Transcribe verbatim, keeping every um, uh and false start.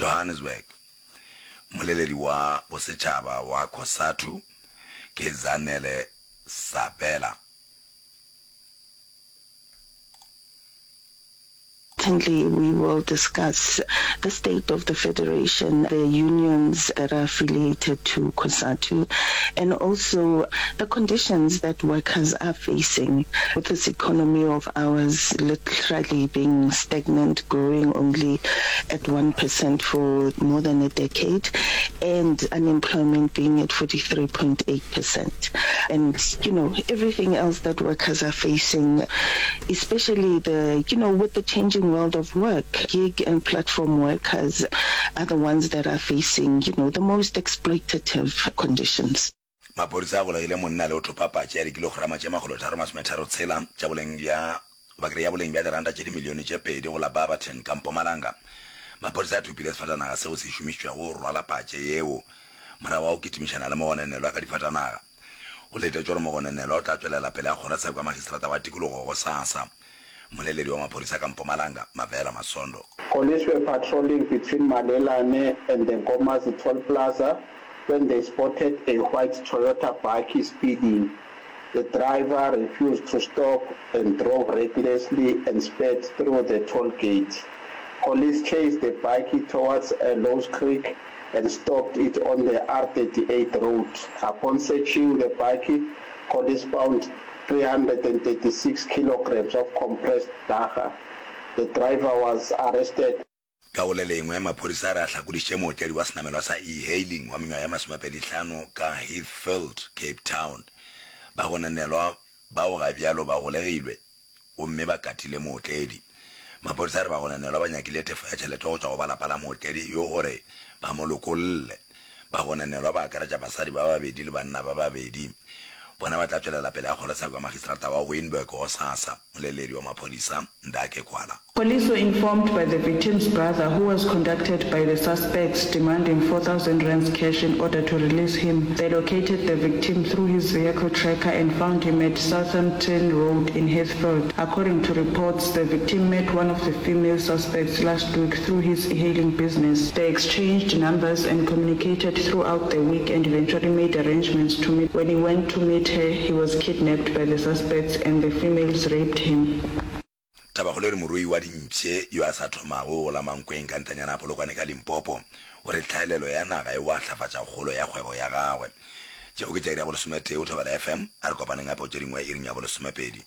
Johannesburg, Mmoleledi wa bosetšhaba wa Cosatu ke Zanele Sabela. Certainly we will discuss the state of the federation, the unions that are affiliated to COSATU, and also the conditions that workers are facing with this economy of ours literally being stagnant, growing only at one percent for more than a decade, and unemployment being at forty-three point eight percent. And, you know, everything else that workers are facing, especially the, you know, with the changing world of work, gig and platform workers are the ones that are facing, you know, the most exploitative conditions. Maphodisa a golegile monna le go thopa patše ya dikilograma tše makgolotharo masometharo tshela tša boleng bja goba ke re ya boleng bja diranta tše dimilione tše pedi go la Barberton ka Mpumalanga. Maphodisa a thopile sefatanaga seo se šomišitšwego go rwala patše yeo morago ga go kitimišana le mogononelwa ka difatanaga. Go letetšwe gore mogononelwa o tla tšwelela pele ga kgorotsheko ya magistrata wa tikologo gosasa. Mmoleledi wa maphodisa ka Mpumalanga, Mavela Masondo. Police were patrolling between Malelane and the Nkomazi Toll Plaza when they spotted a white Toyota bakkie speeding. The driver refused to stop and drove recklessly and sped through the toll gate. Police chased the bakkie towards Louws Creek and stopped it on the R thirty-eight road. Upon searching the bakkie, police found three hundred and thirty-six kilograms of compressed dagga. The driver was arrested. Ka go le lengwe, maphodisa a re a hlakodišitše mootledi wa senamelwa sa e-hailing wa mengwaga ye masomepedi hlano ka Heathfield, Cape Town. Bagononelwa bao ga bjalo ba golegilwe gomme ba katile mootledi. Maphodisa a re bagononelwa ba nyakile tefo ya tšhelete go tšwa go ba lapa la mootledi yo gore ba mo lokolle. Bagononelwa ba akaretša basadi ba babedi le banna ba babedi. Bona ba tla tšwelela pele ga kgorotsheko ya magistrata wa Wynberg gosasa, moleledi wa maphodisa, Ndake Kwala. Police were informed by the victim's brother who was contacted by the suspects demanding four thousand rands cash in order to release him. They located the victim through his vehicle tracker and found him at Southampton Road in Heathfield. According to reports, the victim met one of the female suspects last week through his e-hailing business. They exchanged numbers and communicated throughout the week and eventually made arrangements to meet. When he went to meet her, he was kidnapped by the suspects and the females raped him. Tabakgolo e re morui wa dimpše yo a sa thomago go la Mankweng ka ntanyana ya Polokwane ka Limpopo o re tlhaelelo ya naga e oahlafatša kgolo ya kgwebo ya gagwe. Tšeo ke tša iri ya bolesometee go Thobela F M. A re kopaneng gape go tše dingwe iring ya bolesomepedi.